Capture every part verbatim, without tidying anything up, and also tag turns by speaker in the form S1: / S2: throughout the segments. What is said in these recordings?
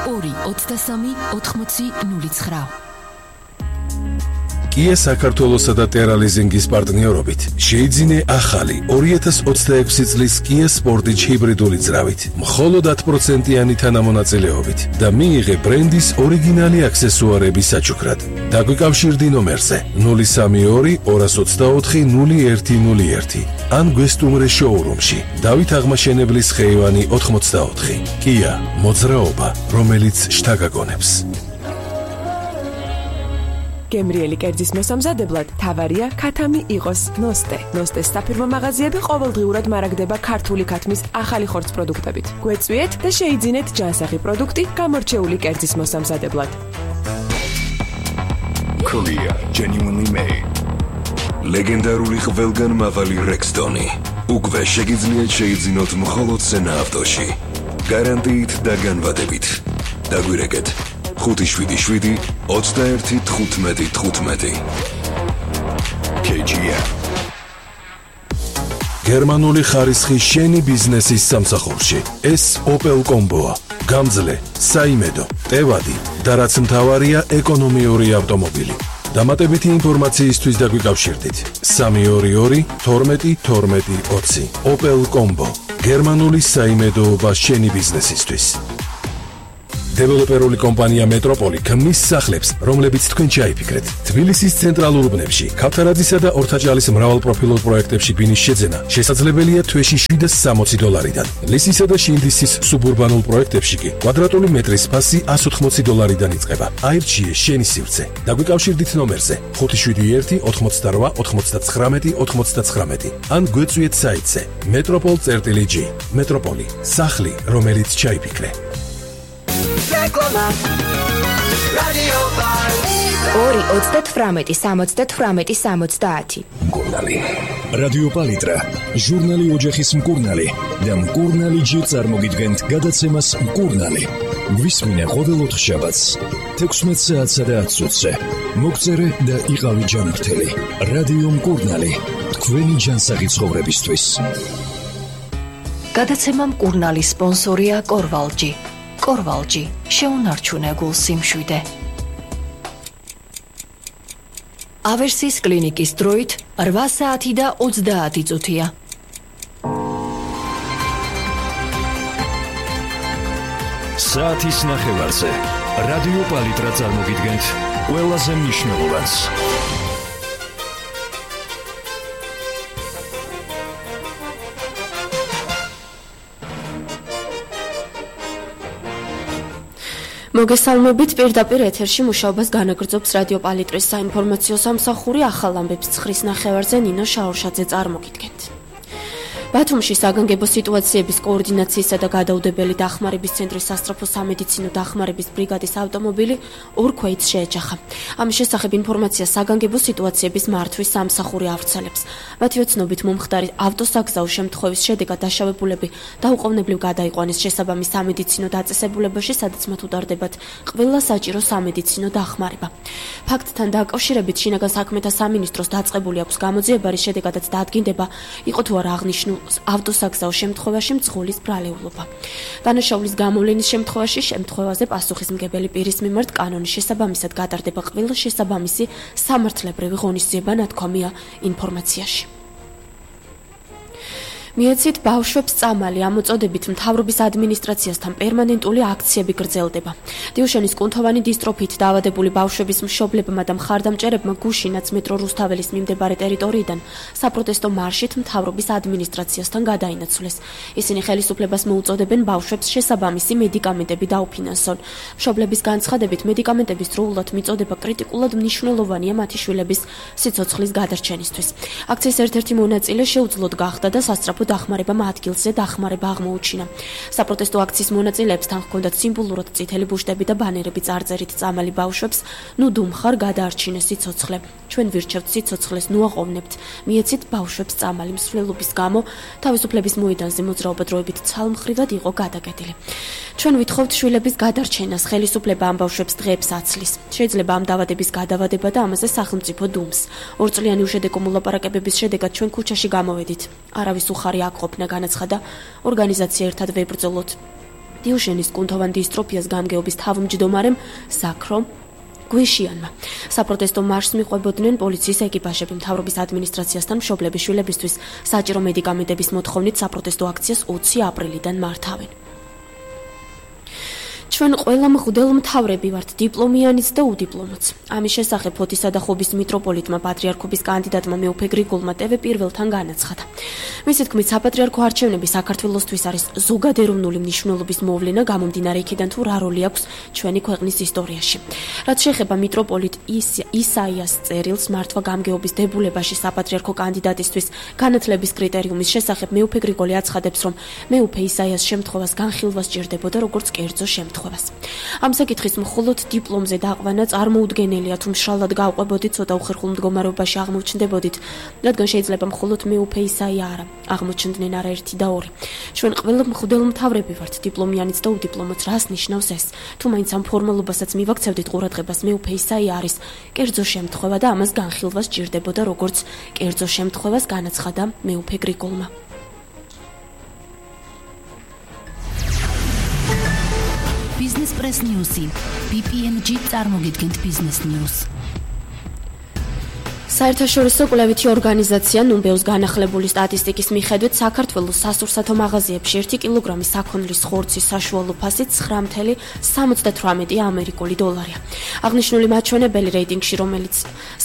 S1: ორი ოცდასამი ოთხმოცი ნული ცხრა.
S2: Kia საქართველოსა და Terra Leasing-ის პარტნიორობით შეიძინე ახალი ორი ათას ოცდაექვსი წლის Kia Sportage ჰიბრიდული ძრავით, მხოლოდ ათი პროცენტიანი თანამონაწილეობით და მიიღე ბრენდის ორიგინალი აქსესუარები საჩუქრად. დაგვიკავშირდი ნომერზე ნული სამი ორი ორას ოცდაოთხი ნული ერთი ნული ერთი ან გვესტუმრე შოურუმში დავით აღმაშენებლის ხეივანი ოთხმოცდაოთხი. Kia მოძრაობა, რომელიც შთაგაგონებს.
S3: გემრიელი კერძის მოსამზადებლად თავარია ქათამი იყოს ნოსტე. ნოსტეს საფირმო მაღაზიები ყოველდღიურად მარაგდება ქართული ქათმის ახალი ხორცს პროდუქტებით. გვეწვიეთ და შეიძინეთ ჯანსაღი პროდუქტი გამორჩეული კერძის მოსამზადებლად.
S4: Korea genuinely made. ლეგენდარული ყველგან მავალი Rexton-ი. უკვე შეგიძლიათ შეიძინოთ მხოლოდ სენა ავტოში. გარანტიით და განვადებით. დაგვირეკეთ ხუთი შვიდი შვიდი ოცდაერთი თხუთმეტი თხუთმეტი. კეი ჯი ემ
S2: გერმანული ხარისხი შენი ბიზნესის სამსახურში. ეს Opel Combo-ა. გამძლე, საიმედო, ტევადი და რაც მთავარია ეკონომიური ავტომობილი. დამატებითი ინფორმაციისთვის დაგვიკავშირდით სამი ორი ორი თორმეტი თორმეტი ოცი. Opel Combo. გერმანული საიმედოობა შენი ბიზნესისთვის. დეველოპერული კომპანია მეტროპოლი ქმნის სახლებს, რომლებიც თქვენ ჩაიფიქრეთ. თბილისის ცენტრალურ უბნებში, ქავთარაძისა და ორთაჭალის მრავალპროფილურ პროექტებში ბინის შეძენა შესაძლებელია თვეში შვიდას სამოცი დოლარიდან. ლისისა და შინდისის სუბურბანულ პროექტებში კი კვადრატული მეტრის ფასი ასი ოცდაოთხი დოლარიდან იწყება. აირჩიე შენი სივრცე. დაგვიკავშირდით ნომერზე ხუთი შვიდი ერთი ოთხმოცდარვა ოთხმოცდაცხრამეტი ოთხმოცდაცხრამეტი ან გვეწვიეთ საიტზე metropol წერტილი ჯი. მეტროპოლი, სახლი, რომელიც ჩაიფიქრე.
S5: ორი ოცდათვრამეტი სამოცდათვრამეტი სამოცდაათი.
S4: მკურნალი.
S6: რადიო პალიტრა, ჟურნალი ოჯახის მკურნალი და მკურნალი ჯი წარმოგიდგენთ გადაცემას მკურნალი. გვისმინე ყოველ ოთხშაბათს თექვსმეტ საათსა და ათი წუთზე. მოგწერე და იყავი ჯანმრთელი. რადიო მკურნალი, თქვენი ჯანსაღი ცხოვრებისთვის.
S7: გადაცემა მკურნალი სპონსორია კორვალჯი. კორვალჯი, შეუნარჩუნე გულ სიმშვიდე. ავერსის კლინიკის დროით რვა საათი და ოცდაათი წუთია.
S6: საათის ნახევარზე რადიო პალიტრა წარმოგიდგენთ ყველაზე მნიშვნელოვანს.
S8: მოგესალმებით, პირდაპირ ეთერში მუშაობას განაგრძობს რადიო პალიტრის საინფორმაციო სამსახური. ახალ ამბებს ცხრის ნახევარზე ნინო შაურშაძე წარმოგიდგენთ. ბათუმში საგანგებო სიტუაციების კოორდინაციისა და გადაუდებელი დახმარების ცენტრის სასწრაფო სამედიცინო დახმარების ბრიგადის ავტომობილი ორ ქვეითს შეეჯახა. ამის შესახებ ინფორმაცია საგანგებო სიტუაციების მართვის სამსახური ავრცელებს. მათი ოცნობით მომხდარი ავტოსაგზაო შემთხვევის შედეგად დაშავებულები დაუყოვნებლივ გადაიყვანეს შესაბამის სამედიცინო დაწესებულებაში, სადაც მათ უდარდებათ ყველა საჭირო სამედიცინო დახმარება. ფაქტთან დაკავშირებით შინაგან საქმეთა სამინისტროს დაწყებული აქვს გამოძიება, რის შედეგადაც დაადგინდება იყო თუ არა აღნიშნულ ავტოსაგზაო შემთხვევაში მძღოლის ბრალეულობა. დანაშაულის გამოვლენის შემთხვევაში შემთხვევაზე პასუხისმგებელი პირის მიმართ კანონის შესაბამისად გადარდება ყველა შესაბამისი სამართლებრივი ღონისძიება, ნათქვამია ინფორმაციაში. მიეცით ბავშვებს წამალი ამოწოდებით მთავრობის ადმინისტრაციასთან პერმანენტული აქციები გრძელდება. დიუშენის კუნთოვანი დისტროფით დაავადებული ბავშვების მშობლებმა და მხარდამჭერებმა გუშინაც მეტრო რუსთაველის მიმდებარე ტერიტორიიდან საპროტესტო მარშით მთავრობის ადმინისტრაციასთან გადაინაცვლეს. ისინი ხელისუფლებას მოუწოდებენ ბავშვებს შესაბამისი მედიკამენტები დაუფინანსონ. მშობლების განცხადებით მედიკამენტების დროულად მიწოდება კრიტიკულად მნიშვნელოვანია მათი შვილების სიცოცხლის გადარჩენისთვის. აქციის ერთ-ერთი მონაწილე შეუძლოდ გახდა და სასწრაფო დახმარებამ ადგილზე დახმარება აღმოუჩინა. საპროტესტო აქციის მონაწილეებთან ჰქონდათ სიმბოლურად წითელი ბუშტები და ბანერები წარწერით წამალი ბავშვებს, ნუ დუმხარ გადაარჩინე სიცოცხლე. ჩვენ ვირჩევთ სიცოცხლეს, ნუ აყოვნებთ. მიეცით ბავშვებს წამალი მსვლელობის გამო თავისუფლების მოედანზე მოძრაობა დროებით ცალმხრივად იყო გადაგედილი. ჩვენ ვითხოვთ შვილების გადარჩენას, ხელისუფლება ამ ბავშვებს დღეებს აცლის. შეიძლება ამ დაავადების გადავადება და ამაზე სახელმწიფო დუმს. ორწლიანი უშედეგო მოლაპარაკებების შედეგად ჩვენ ქუჩაში გამოვედით. არავის უხარი აქ ყოფნა განაცხადა ორგანიზაცია ერთად ვებრძოლოთ. დიუშენის კუნთოვან დისტროფიას გამგეობის თავმჯდომარემ ზაქრო გვიშიანმა. საპროტესტო მარშს მიყვებოდნენ პოლიციის ეკიპაჟები. მთავრობის ადმინისტრაციასთან მშობლების შვილებისთვის საჭირო მედიკამენტების მოთხოვნით საპროტესტო აქციას ოცი აპრილიდან მართავენ. ჩვენ ყველა მღვდელ მთავრები ვართ, დიპლომიანიც და უდიპლომოც. ამის შესახებ ფოთისა და ხობის მიტროპოლიტმა პატრიარქობის კანდიდატმა მეუფე გრიგოლმა ტევ პირველთან განაცხადა. მისი თქმით, საპატრიარქო არჩევნები საქართველოსთვის არის ზოგადეროვნული მნიშვნელობის მოვლენა, გამომდინარე იქიდან თუ რა როლი აქვს ჩვენი ქვეყნის ისტორიაში. რაც შეეხება მიტროპოლიტ ისაიას წერილს მართვა გამგეობის დებულებაში საპატრიარქო კანდიდატისთვის განათლების კრიტერიუმის შესახებ მეუფე გრიგოლი აცხადებს, რომ მეუფე ისაიას შემთხვევას განხილვა სჭირდებოდა როგორც კერძო შემთხვევა. ამ საკითხის მხოლოდ დიპლომზე დაყვანა წარმოუდგენელია, თუ მშრალად გავყვებოდით, ცოტა უხერხულ მდგომარეობაში აღმოჩნდებოდით, რადგან შეიძლება მხოლოდ მეუფე ისაია არა, აღმოჩნდნენ არაერთი და ორი. ჩვენ ყველა მღვდელ მთავრები ვართ, დიპლომიანიც და უდიპლომოც. რას ნიშნავს ეს? თუ მაინც ამ ფორმალობასაც მივაქცევდით ყურადღებას, მეუფე ისაია არის კერძო შემთხვევა და ამას განხილვა სჭირდებოდა როგორც კერძო შემთხვევას, განაცხადა მეუფე გრიგოლმა.
S1: Business Press News-ი. ბი პი ენ ჯი წარმოგიდგენთ Business News.
S8: საერთაშორისო კვლევითი ორგანიზაცია ნუმბეუს განახლებული სტატისტიკის მიხედვით საქართველოს სასურსათო მაღაზიებში ერთი კილოგრამი საქონლის ხორცის საშუალო ფასი ცხრა სამოცდათვრამეტი ამერიკული დოლარია. აღნიშნული მაჩვენებელი რეიტინგში, რომელიც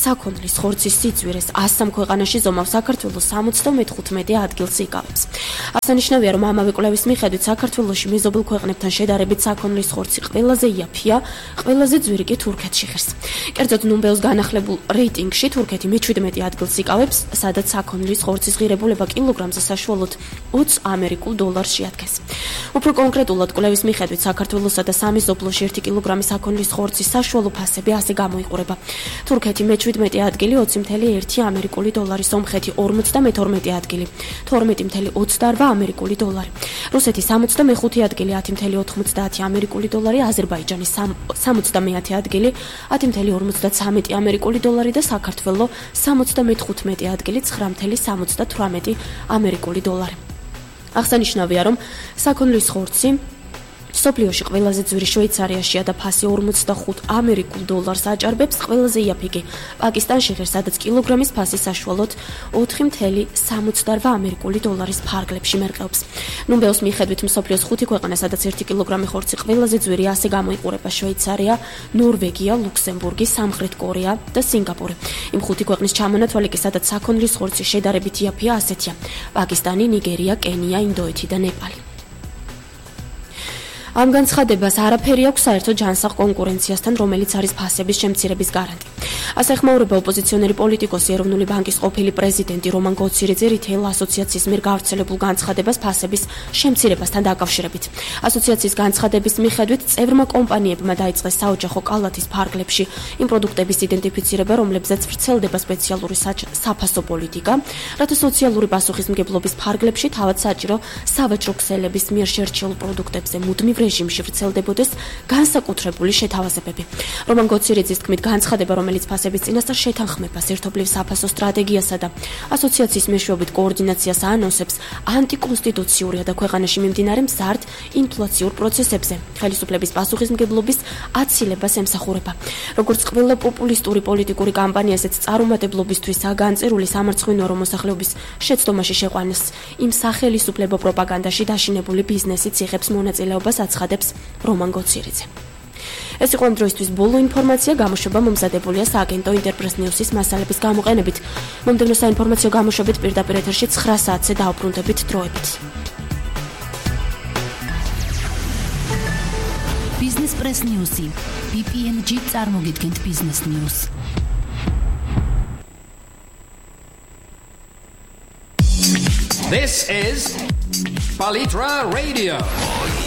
S8: საქონლის ხორცის სიძვირეს ასამ ქვეყანაში ზომავს, საქართველოს სამოცდამეხუთმეტე ადგილს იკავებს. აღსანიშნავია, რომ ამავე კვლევის მიხედვით საქართველოში მეზობელ ქვეყნებთან შედარებით საქონლის ხორცი ყველაზე იაფია, ყველაზე ძვირი კი თურქეთში ღირს. კერძოდ ნუმბეუს განახლებულ რეიტინგში თურქეთი მეჩვიდმეტე ადგილს იკავებს, სადაც საქონლის ხორცის ღირებულება კილოგრამზე საშუალოდ ოცი ამერიკულ დოლარს შეადგენს. უფრო კონკრეტულად, კვლევის მიხედვით საქართველოსა და სამეზობლოში ერთი კილოგრამი საქონლის ხორცის საშუალო ფასები ასე გამოიყურება. თურქეთი მეჩვიდმეტე ადგილი ოცი ერთი ამერიკული დოლარი, სომხეთი ორმოცდამეთორმეტე ადგილი თორმეტი ოცდაოთხ ამერიკული დოლარი, რუსეთი სამოცდამეხუთე ადგილი ათი ოთხმოცდაათი ამერიკული დოლარი, აზერბაიჯანი სამოცდამეათე ადგილი ათი ორმოცდათრამეტი ამერიკული დოლარი და საქართველო სამოცდამეთხუთმეტე ადგილი ცხრა სამოცდათვრამეტი ამერიკული დოლარი. აღსანიშნავია, რომ საქონლის ხორცი სოფლიოში ყველაზე ძვირი შვეიცარიაშია და ფასი ორმოცდახუთ ამერიკულ დოლარს აჭარბებს, ყველაზე იაფი კი პაკისტანში ღირს, სადაც კილოგრამის ფასი საშუალოდ ოთხი სამოცდაოთხ ამერიკული დოლარის ფარგლებში მერყეობს. ნუმბეუს მიხედვით მსოფლიოს ხუთი ქვეყანა, სადაც ერთი კილოგრამი ხორცი ყველაზე ძვირი ასე გამოიყურება: შვეიცარია, ნორვეგია, ლუქსემბურგი, სამხრეთ კორეა და სინგაპური. იმ ხუთი ქვეყნის ჩამონათვალი კი, სადაც საქონლის ხორცი შედარებით იაფია, ასეთია: პაკისტანი, ნიგერია, კენია, ინდოეთი და ნეპალი. ამ განცხადებას არაფერი აქვს საერთო ჯანსაღ კონკურენციასთან, რომელიც არის ფასების შემცირების გარანტი. ასე ხმაურება ოპოზიციონერი პოლიტიკოსი, ეროვნული ბანკის ყოფილი პრეზიდენტი რომან გოცირიძე რითეილ ასოციაციის მიერ გავრცელებულ განცხადებას ფასების შემცირებასთან დაკავშირებით. ასოციაციის განცხადების მიხედვით, წევრმა კომპანიებმა დაიწყეს საოჯახო კალათის ფარგლებში იმ პროდუქტების იდენტიფიცირება, რომლებზეც ვრცელდება სპეციალური საფასო პოლიტიკა, რათა სოციალური პასუხისმგებლობის ფარგლებში თავად საჭირო სავაჭრო ქსელების მიერ შერჩეულ პროდუქტებზე მუდმივ რეჟიმში ვრცელდებოდეს განსაკუთრებული შეთავაზებები. რომან გოცირიძის თქმით, განცხადება, რომელიც ფასების წინასწარ შეთანხმებას, ერთობლივ საფასო სტრატეგიასა და ასოციაციის მეშვეობით კოორდინაციას ანონსებს, ანტიკონსტიტუციურია და ქვეყანაში მიმდინარე მზარდ ინფლაციურ პროცესებზე ხელისუფლების პასუხისმგებლობის აცილებას ემსახურება. როგორც ყველა პოპულისტური პოლიტიკური კამპანია, ესეც წარუმატებლობისთვისა განწერული სამარცხვინო რომ მოსახლეობის შეცდომაში შეყვანას იმ სახელისუფლებო პროპაგანდაში დაშინებული ბიზნესიც იღებს მონაწილეობას, აცხადებს რომან გოცირიძე. ეს იყო ამ დროისთვის ბოლო ინფორმაცია, გამოშვება მომზადებულია სააგენტო ინტერპრეს ნიუსის მასალების გამოყენებით. მომდევნო საინფორმაციო გამოშვებით პირდაპირ ეთერში ცხრა საათზე დაუბრუნდებით დროებით.
S1: Business Press News-ი. ბი პი ენ ჯი წარმოგიდგენთ Business News.
S9: This is Palitra Radio.